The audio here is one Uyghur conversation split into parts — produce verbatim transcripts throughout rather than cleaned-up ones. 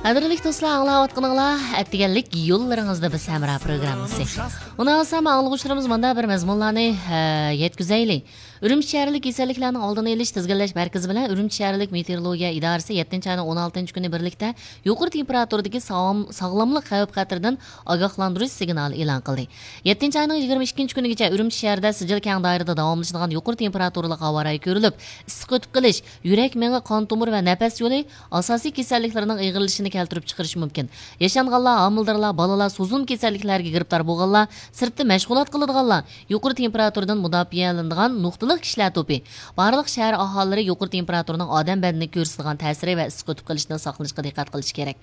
قەدىرلىك دوستلار، ئاڭلاۋاتقىنىڭلار ئەتىگەنلىك يوللىرىڭىزدا بىز ھەمراھ پروگراممىسى. ئۇنىڭ ئاڭلىغۇچىلىرىمىز مۇنداق بىر مەزمۇنلارنى، ھە، يەتكۈزەيلى. ئۈرۈمچى شەھەرلىك كېسەللىكلەرنىڭ ئالدىنى ئېلىش، تىزگىنلەش مەركىزى بىلەن ئۈرۈمچى شەھەرلىك مېتېئورولوگىيە ئىدارىسى يەتتىنچى ئاينىڭ ئون ئالتىنچى كۈنى بىرلىكتە يۇقىرى تېمپېراتۇرىدىكى ساغلام-، ساغلاملىق خەۋپ خەتىرىدىن ئاگاھلاندۇرۇش سىگنالى ئېلان قىلدى. يەتتىنچى ئاينىڭ يىگىرمە ئىككىنچى كۈنىگىچە ئۈرۈمچى شەھىرىدە سىجىل كەڭ دائىرىدە داۋاملىشىدىغان يۇقىرى تېمپېراتۇرىلىق ھاۋا رايى كۆرۈلۈپ، ئىسسىق ئۆتۈپ قېلىش، يۈرەك، مېڭە، قان تومۇر ۋە نەپەس يولى ئاساسىي كېسەللىكلىرىنىڭ ئېغىرلىشىشىنى كەلتۈرۈپ چىقىرىشى مۇمكىن. ياشانغانلار، ھامىلىدارلار، بالىلار، سوزۇلما كېسەللىكلەرگە گىرىپتار بولغانلار، سىرتتا مەشغۇلات قىلىدىغانلار، يۇقىرى تېمپېراتۇرىدىن مۇداپىئەلىنىدىغان نۇقتىلىق كىشىلەر توپى، بارلىق شەھەر ئاھالىلىرى يۇقىرى تېمپېراتۇرىنىڭ ئادەم بەدىنىگە كۆرسىتىدىغان تەسىرى ۋە ئىسسىق ئۆتۈپ قېلىشىدىن ساقلىنىشقا دىققەت قىلىشى كېرەك.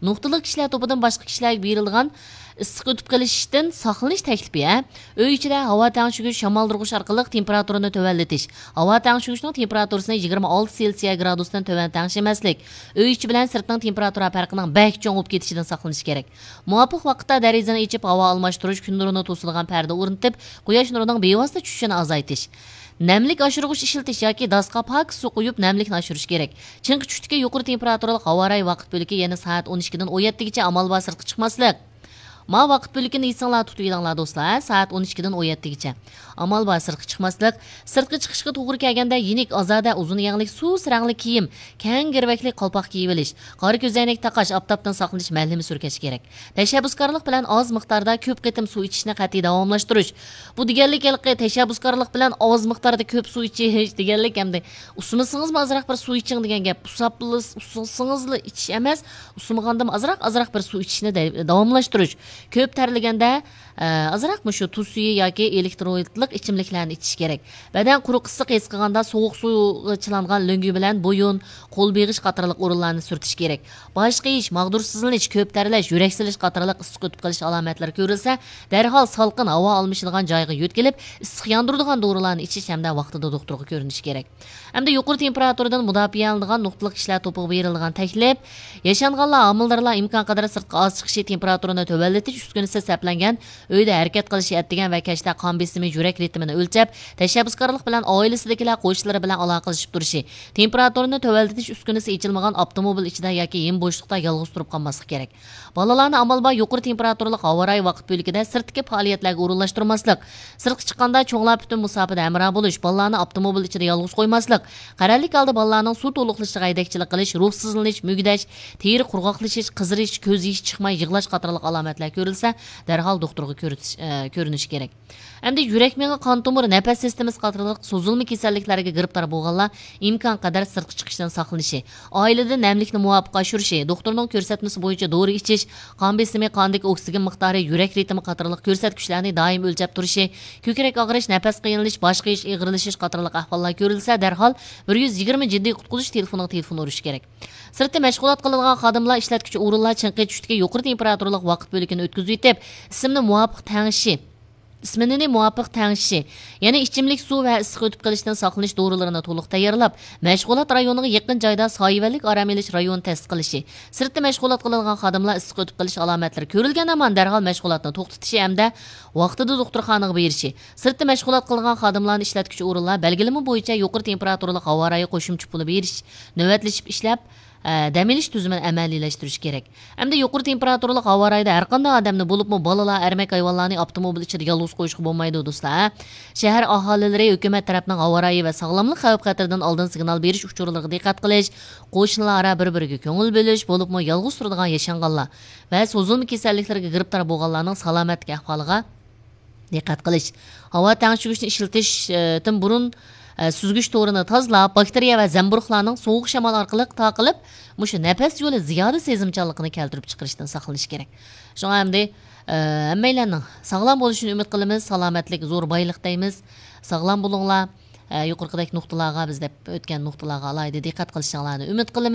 نۇقتىلىق كىشىلەر توپىدىن باشقا كىشىلەرگە بېرىلىدىغان ئىسسىق ئۆتۈپ قېلىشتىن ساقلىنىش تەكلىپى، ھە؟ ئۆي ئىچىدە ھاۋا تەڭشىگۈچ، شامالدۇرغۇچ ئارقىلىق تېمپېراتۇرىنى تۆۋەنلىتىش. ھاۋا تەڭشىگۈچنىڭ تېمپېراتۇرىسىنى يىگىرمە ئالتە سېلسىيە گرادۇستىن تۆۋەن تەڭشىمەسلىك. ئۆي ئىچى بىلەن سىرتنىڭ تېمپېراتۇرا پەرقىنىڭ بەك چوڭ بولۇپ كېتىشىدىن ساقلىنىش كېرەك. مۇۋاپىق ۋاقىتتا دېرىزىنى ئېچىپ، ھاۋا ئالماشتۇرۇش، كۈن نۇرىنى توسىدىغان پەردە ئورنىتىپ، قۇياش نۇرىنىڭ بىۋاسىتە چۈشۈشىنى ئازايتىش. نەملىك ئاشۇرغۇچ ئىشلىتىش ياكى داسقا پاكىز سۇ قۇيۇپ، نەملىكنى ئاشۇرۇش كېرەك. چىڭقى چۈشتىكى يۇقىرى تېمپېراتۇرىلىق ھاۋا رايى ۋاقىت بۆلىكى يەنە سائەت ئون ئىككىدىن ئون يەتتىگىچە ئامال بار سىرتقا چىقماسلىق. ما ۋاقىت بۆلىكىنى ئېسىڭلار تۇتۇۋېلىڭلار دوستلار، ھە؟ سائەت ئون ئىككىدىن ئون يەتتىگىچە. ئامال بار سىرتقا چىقماسلىق. سىرتقا چىقىشقا توغرا كەلگەندە يېنىك، ئازادە، ئۇزۇن يەڭلىك، سۇس رەڭلىك كىيىم، كەڭ گىرۋەكلىك قالپاق كىيىۋېلىش. قارا كۆزەينەك تاقاش، ئاپتاپتىن ساقلىنىش مەلھىمى سۈركەش كېرەك. تەشەببۇسكارلىق بىلەن ئاز مىقداردا كۆپ قېتىم سۇ ئىچىشنى قەتئىي داۋاملاشتۇرۇش. بۇ دېگەنلىك ھېلىقى تەشەببۇسكارلىق بىلەن ئاز مىقداردا كۆپ سۇ ئىچىش دېگەنلىك ئەمدى ئۇسسىمىسىڭىزمۇ ئازراق بىر سۇ ئىچىڭ دېگەن گەپ. ئۇسساپلا، ئۇسسىسىڭىزلا ئىچىش ئەمەس، ئۇسسىمىغاندىمۇ ئازراق، ئازراق بىر سۇ ئىچىشنى دە-، داۋاملاشتۇرۇش. كۆپ تەرلىگەندە، ئە، ئازراق مۇشۇ تۇز سۈيى ياكى ئېلېكترولىتلىق ئىچىملىكلەرنى ئىچىش كېرەك. بەدەن قۇرۇق ئىسسىق ھېس قىلغاندا سوغۇق سۇغا چىلانغان لۆڭگە بىلەن بويۇن، قول بېغىش قاتارلىق ئورۇنلارنى سۈرتۈش كېرەك. باش قېيىش، ماغدۇرسىزلىنىش، كۆپ تەرلەش، يۈرەك سېلىش قاتارلىق ئىسسىق ئۆتۈپ قېلىش ئالامەتلىرى كۆرۈلسە، دەرھال سالقىن ھاۋا ئالمىشىدىغان جايغا يۆتكىلىپ، ئىسسىق ياندۇرىدىغان دورىلارنى ئىچىش ھەمدە ۋاقتىدا دوختۇرغا كۆرۈنۈش كېرەك. ئەمدى يۇقىرى تېمپېراتۇرىدىن مۇداپىئەلىنىدىغان نۇقتىلىق كىشىلەر توپىغا بېرىلىدىغان تەكلىپ، ياشانغانلار، ھامىلىدارلار ئىمكانقەدەر سىرتقا ئاز چىقىشى، تېمپېراتۇرىنى تۆۋەنلىتىش ئۈسكۈنىسى سەپلەنگەن ئۆيدە ھەرىكەت قىلىشى، ئەتىگەن ۋە كەچتە قان بېسىمى، يۈرەك رىتىمىنى ئۆلچەپ، تەشەببۇسكارلىق بىلەن ئائىلىسىدىكىلەر، قوشنىلىرى بىلەن ئالاقىلىشىپ تۇرۇشى، تېمپېراتۇرىنى تۆۋەنلىتىش ئۈسكۈنىسى ئېچىلمىغان ئاپتوموبىل ئىچىدە ياكى ھىم بوشلۇقتا يالغۇز تۇرۇپ قالماسلىق كېرەك. بالىلارنى ئامال بار يۇقىرى تېمپېراتۇرىلىق ھاۋا رايى ۋاقىت بۆلىكىدە سىرتتىكى پائالىيەتلەرگە ئورۇنلاشتۇرماسلىق. سىرتقا چىققاندا چوڭلار پۈتۈن مۇساپىدە ھەمراھ بولۇش، بالىلارنى ئاپتوموبىل ئىچىدە يالغۇز قويماسلىق، قەرەللىك ھالدا بالىلارنىڭ سۇ تولۇقلىشىغا ھەيدەكچىلىك قىلىش، روھسىزلىنىش، مۈگدەش، تېرە قۇرغاقلىشىش، قىزىرىش، كۆز يېشى چىقماي يىغلاش قاتارلىق ئالامەتلەر كۆرۈلسە، دەرھال دوختۇرغا كۆرسىتىش، ئە، كۆرۈنۈشى كېرەك. ئەمدى يۈرەك، مېڭە، قان تومۇر، نەپەس سىستېمىسى قاتارلىق سوزۇلما كېسەللىكلەرگە گىرىپتار بولغانلار ئىمكانقەدەر سىرتقا چىقىشتىن ساقلىنىشى، ئائىلىدە نەملىكنى مۇۋاپىق ئاشۇرۇشى، دوختۇرنىڭ كۆرسەتمىسى بويىچە دورا ئىچىش، قان بېسىمى، قاندىكى ئوكسىگېن مىقدارى، يۈرەك رىتىمى قاتارلىق كۆرسەتكۈچلەرنى دائىم ئۆلچەپ تۇرۇشى، كۆكرەك ئاغرىش، نەپەس قىينىلىش، باش قېيىش، ئېغىرلىشىش قاتارلىق ئەھۋاللار كۆرۈلسە، دەرھال بىر يۈز يىگىرمە جىددىي قۇتقۇزۇش تېلېفونىغا تېلېفون ئۇرۇش كېرەك. سىرتتا مەشغۇلات قىلىدىغان خادىملار، ئىشلەتكۈچى ئورۇنلار چىڭقى چۈشتىكى يۇقىرى تېمپېراتۇرىلىق ۋاقىت بۆلىكىنى ئۆتكۈزۈۋېتىپ، ئىسسىمنى مۇۋاپىق تەڭشىشى، ئىسمىنىنى مۇۋاپىق تەڭشىشى، يەنە ئىچىملىك سۇ ۋە ئىسسىق ئۆتۈپ قېلىشتىن ساقلىنىش دورىلىرىنى تولۇق تەييارلاپ، مەشغۇلات رايونىغا يېقىن جايدا سايىۋەنلىك ئارام ئېلىش رايونى تەسىس قىلىشى، سىرتتا مەشغۇلات قىلىدىغان خادىملار ئىسسىق ئۆتۈپ قېلىش ئالامەتلىرى كۆرۈلگەن ھامان دەرھال مەشغۇلاتنى توختىتىشى ھەمدە ۋاقتىدا دوختۇرخانىغا بېرىشى، سىرتتا مەشغۇلات قىلىدىغان خادىملارنى ئىشلەتكۈچى ئورۇنلار بەلگىلىمە بويىچە يۇقىرى تېمپېراتۇرىلىق ھاۋا رايى قوشۇمچە پۇلى بېرىش، نۆۋەتلىشىپ ئىشلەپ، ئە، دەم ئېلىش تۈزۈمىنى ئەمەلىيلەشتۈرۈش كېرەك. ئەمدى يۇقىرى تېمپېراتۇرىلىق ھاۋا رايىدا ھەرقانداق ئادەمنى، بولۇپمۇ بالىلار، ئەرمەك ھايۋانلارنى ئاپتوموبىل ئىچىدە يالغۇز قويۇشقا بولمايدۇ، دوستلار. شەھەر ئاھالىلىرى ھۆكۈمەت تەرەپنىڭ ھاۋا رايى ۋە ساغلاملىق خەۋپ خەتىرىدىن ئالدىن سىگنال بېرىش ئۇچۇرلىرىغا دىققەت قىلىش، قوشنىلار ئارا بىر-بىرىگە كۆڭۈل بۆلۈش، بولۇپمۇ يالغۇز تۇرىدىغان ياشانغانلار ۋە سوزۇلما كېسەللىكلەرگە گىرىپتار بولغانلارنىڭ سالامەتلىك ئەھۋالىغا دىققەت قىلىش. ھاۋا تەڭشىگۈچنى ئىشلىتىشتىن بۇرۇن، ئە، سۈزگۈچ تورىنى تازىلاپ، باكتېرىيە ۋە زەمبۇرۇغلارنىڭ سوغۇق شامال ئارقىلىق تارقىلىپ، مۇشۇ نەپەس يولى زىيادە سېزىمچانلىقىنى كەلتۈرۈپ چىقىرىشتىن ساقلىنىش كېرەك. شۇڭا ئەمدى، ئە، ھەممەيلەننىڭ ساغلام بولۇشىنى ئۈمىد قىلىمىز. سالامەتلىك زور بايلىق دەيمىز. ساغلام بولۇڭلار. ئە، يۇقىرىقىدەك نۇقتىلارغا، بىز دەپ ئۆتكەن نۇقتىلارغا ئالاھىدە دىققەت قىلىشىڭلارنى ئۈمىد قىلىمىز.